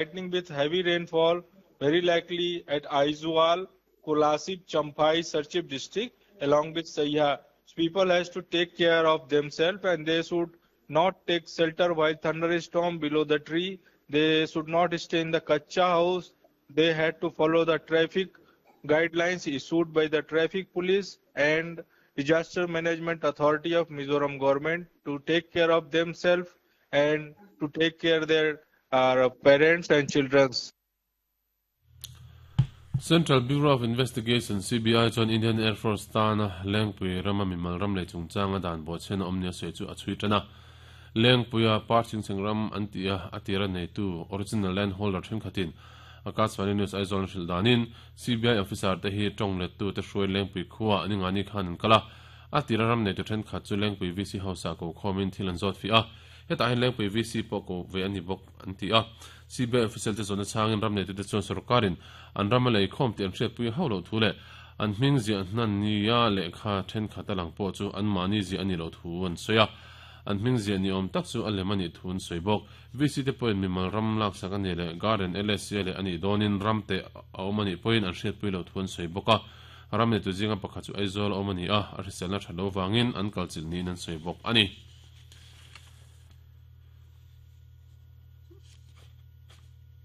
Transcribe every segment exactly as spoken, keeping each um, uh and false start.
Lightning with heavy rainfall very likely at Aizawl, Kolasib, Champhai, Serchhip district along with Saiha. People has to take care of themselves and they should not take shelter while thunderstorm below the tree. They should not stay in the kacha house. They had to follow the traffic guidelines issued by the traffic police and Disaster Management Authority of Mizoram government to take care of themselves and to take care their uh, parents and children. Central Bureau of Investigation C B I chuan Indian Air Force tana Lengpui rama mimal ram lei chungchanga dan bo chen omnia se chu a chui tana Lengpuia parching chengram antia atira nei tu original land holder then khatin Akashvani News Aizawl hril danin C B I officer te hi tong let tu te hruai Lengpui khuwa ani ngani khan an kala atira ram nei tu then khat chu Lengpui V C house a ko khomin thil an zawt fi a heta hin Lengpui V C po ko ve ani bok anti a C B I official te zona changin ram nei tu te chuan sarkarin an ram lei khom ti an hriat pui haulo thu le an hming zia hnan nia le kha then khat alang po chu an mani zi ani lo thu an soya an hming zia ni om tak chu a lemani thun soibok V C te point mimal ram lak sak ani le garden L S C le ani donin ram te a omani point an hriat pui lo thun soiboka ram ne tu zinga pakhat chu Aizawl omani a a hriselna thalo wangin an kalchil ni nan soibok ani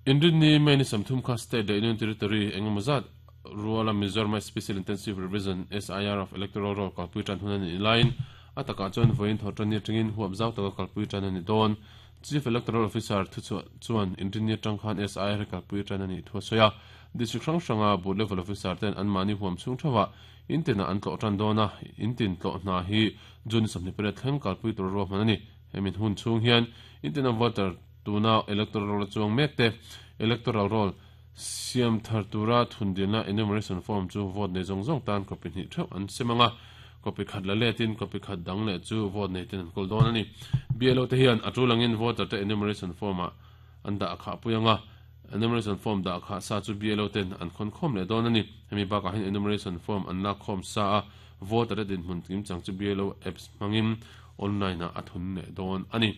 Indian ni many samthum kha state the Union Territory engmazat Ruala Mizoram Special Intensive Revision S I R of Electoral Roll kalpui tan hunan in line ataka chuan voin thotran ni tringin huam zau taka kalpui tan ani don Chief Electoral Officer thu chuan Indian tang khan S I R kalpui tan ani thu soya district hrang hranga board level officer ten an mani huam chung thawa intina an tlo tan dona intin tlo na hi jun samni pere thleng kalpui tur ro manani hemin hun chung hian intina voter tuna electoral roll chuang mek te electoral roll siam thartura thundina enumeration form chu vote nei zong zong tan copy ni theu an semanga copy khat la le tin copy khat dang le chu vote nei tin an kol don ani B L O te hian atulangin voter te enumeration form a an da kha puyanga enumeration form da kha sa chu B L O ten an khon khom le don ani hemi ba ka hin enumeration form an la khom sa a voter din mun tim chang chu B L O apps mangin online a athun ne don ani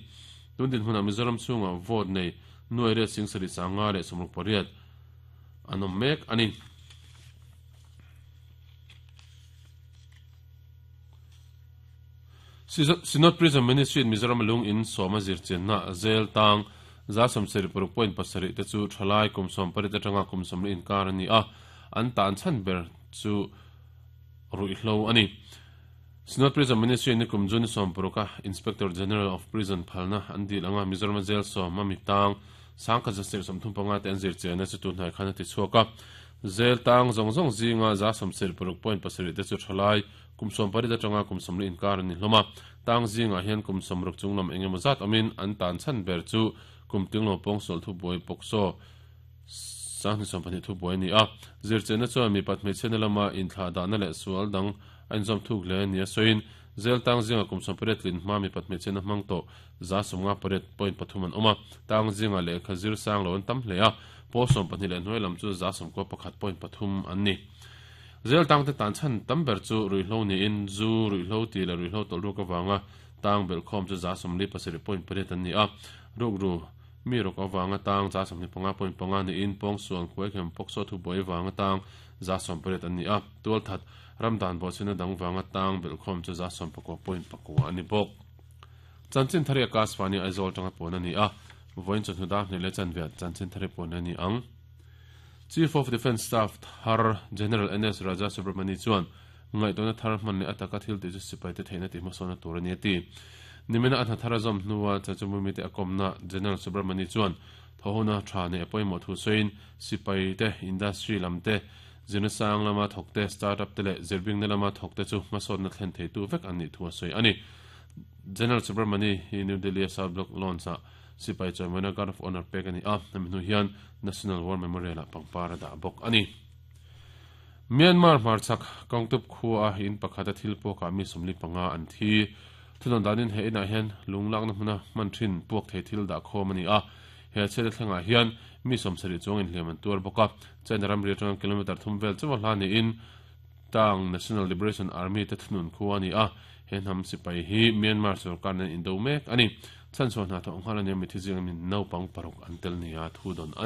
tun din huna Mizoram chunga vote nei nuai re sing sari sanga le somruk pariat anom mek ani Synod Prison Ministry in Mizoram lung in soma zir chenna zel tang za som seri paruk point pasari te chu thalai kum som pari te tanga kum som in kar ani a an tan chan ber chu ruihlo ani Synod Prison Ministry ni kum jun som paruka Inspector General of Prison phalna andi langa Mizoram jail som mami tang sangkha jasir som thum panga te anzir chena chu tu hnai khana ti chuaka zel tang zong zong zinga za som seri paruk point pasari te chu thalai kum som pari da tanga kum som in kar ni hloma tang zinga hian kum som ruk chunglam engemaw zat amin an tan chan ber chu kum tinglo pong sol thu boi pokso sang ni som pani thu boi ni a zir chena chu mi pat me chena lama in thla da na le sual dang an zom thuk le ni soin zel tang zinga kum som pariat lin ma mi pat me chena mang to za somnga pariat point pathum an oma tang zinga le khazir sang lo an tam hle a po som pahnih le hnuai lam chu za som ko pakhat point pathum an ni zel tang te tan chan tamber chu ruihlo ni in zu ruihlo ti la ruihlo tol ru ka wanga tang bel khom chu za som li pasari point pariat an ni a ruk ru mi rok awanga tang za som ni panga point panga ni in pong suan khuai khem pokso thu boi wanga tang za som pariat an ni a tual that ramdan bo chena dang wanga tang bel khom chu za som pakwa point pakwa ani bok chanchin thari Akashvani Aizawl tanga pon ani a voin chu hnuda ne le chan ve chanchin thari pon ani ang Chief of Defence Staff Thar General N S Raja Subramani chuan ngai tona thar man le ataka thil te chu sipai te theina ti hmasona tur ani ti nimena atha thara zom hnuwa chachumumi te akomna General Subramani chuan thohona tha ne apoimo thu soin sipai te industry lam te zinasang lama thokte startup te le zirbing na lama thokte chu hmasona thlen thei tu vek ani thu soi ani General Subramani hi New Delhi South Block launch a sipai chaimana Guard of Honor pek ani a namnu hian National War Memorial a pangpara da bok ani Myanmar marchak kongtup khu a in pakhata thil poka mi somli panga an thi thunon danin he ina hian lunglak na hmuna man thin puak thei thil da khom ani a he chele thlenga hian mi somsari chong in hleman tur boka chen ram ri tang kilometer thum vel chuwa hla ni in Tang National Liberation Army te thunun khu ani a he hnam sipai hi Myanmar sarkar nen indo mek ani chan so na thong hala ne mi thi jing min naupang paruk an tel nia thu don ani.